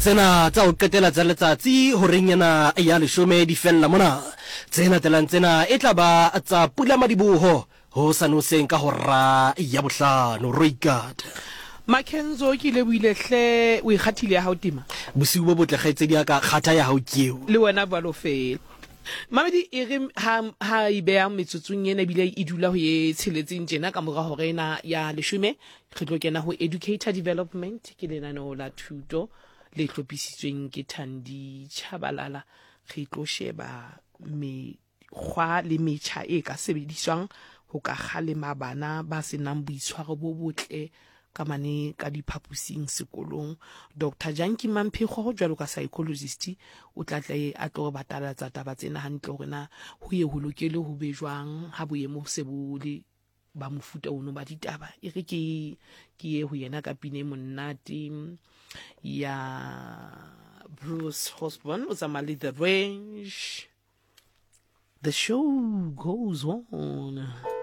Tsena tsa ho qetela tsa letsatsi horeng ena ya leshome di fella mona. Tse latelang tsena e tla ba tsa pulamadiboho hosane hoseng ka hora ya bohlano. Roikata. Makenzo ke lebohile hle o ikgathile ya hao tema. Bosiu bo botle kgaitsedi ya ka, kgatha ya hao ke eo. Le wena bjalo fela. Mamedi e re ha ha e beha metsotsong ena ebile e dula ho ye tsheletseng tjena ka mora hora ena ya leshome re tlo kena ho Educator Development ke lenaneo la thuto le hlophisitsweng ke Thandi Chabalala re tlo sheba mekgwa le metjha e ka sebediswang ho ka kgalema bana ba se nang boitshwaro bo botle ka mane ka diphaposing sekolong. Doctor Janki Mamphekgo jwalo ka psychologist o tla tla a tlo re batalatsa taba tsena hantle hore na ho ye ho lokele ho be jwang ha boemo se bo le ba mofuta ono ba ditaba. E re ke ke ye ho yena ka pina e monate ya Bruce Osborne o tsamaya le The Range. The show goes on.